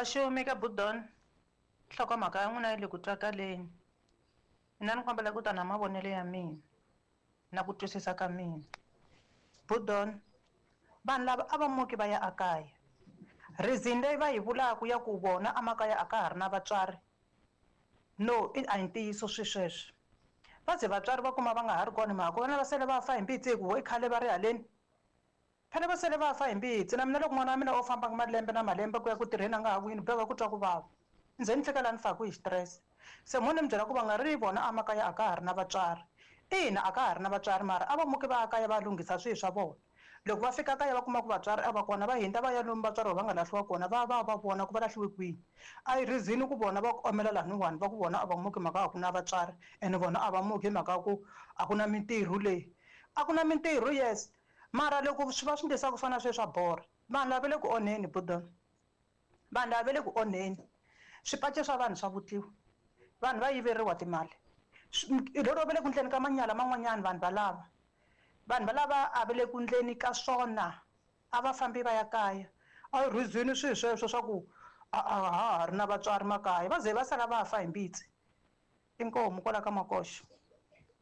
Vaxumi ka Budon, nhlokomhaka ya n'wina yi le ku twakaleni. Mina ni kombela ku ta na mavonelo ya mina na ku twisisa ka mina. Budon, vanhu lava a va muki va ya ekaya. Reason leyi va yi vulaka ya ku vona emakaya a ka ha ri na vatswari no i a hi ntiyiso swi sweswo. Va ze vatswari va kuma va nga ha ri kona hi mhaka ku vana va sele va fa hi mbitsi hi ku vo i khale va ri haleni. Phela va sele va fa hi mbitsi. Na mina loko n'wana wa mina o famba malembe na malembe ku ya ku tirheni a nga ha vuyi ni boheka ku twa ku vava. Ni ze ni fika laha ni faku hi xitirese. Se mo ni mi byela ku va nga ri vona emakaya a ka ha ri na vatswari. Ina a ka ha ri na vatswari mara a va muki va ya kaya va ya lunghisa swilo swa vona. Loko va fika kaya va kuma ku vatswari a va kona va hundza va ya lomu vatswari va nga lahliwa kona va ya va ya va vona ku va lahliwe kwihi. A yi reason ku vona va ku omela laniwani va ku vona a va muki hi mhaka ya ku a ku na vatswari ene vona a va muki hi mhaka ya ku a ku na mintirho le. A ku na mintirho yes mara loko swi va swi endlisa ku fana na sweswi swa borha. Vanhu lava va le ku onheni Budon. Vanhu lava va le ku onheni. Swipaci swa vanhu swa vutliwa. Vanhu va yiveriwa timali. Lero va le ku endleni ka manyala man'wanyana vanhu valava. Vanhu valava a va le ku endleni ka swona. A va fambi va ya kaya. A yi reason swilo sweswo swa ku a a ha ha ri na vatswari makaya. Va ze va sala va fa hi mbitsi. Inkomu kwala ka Makoxa.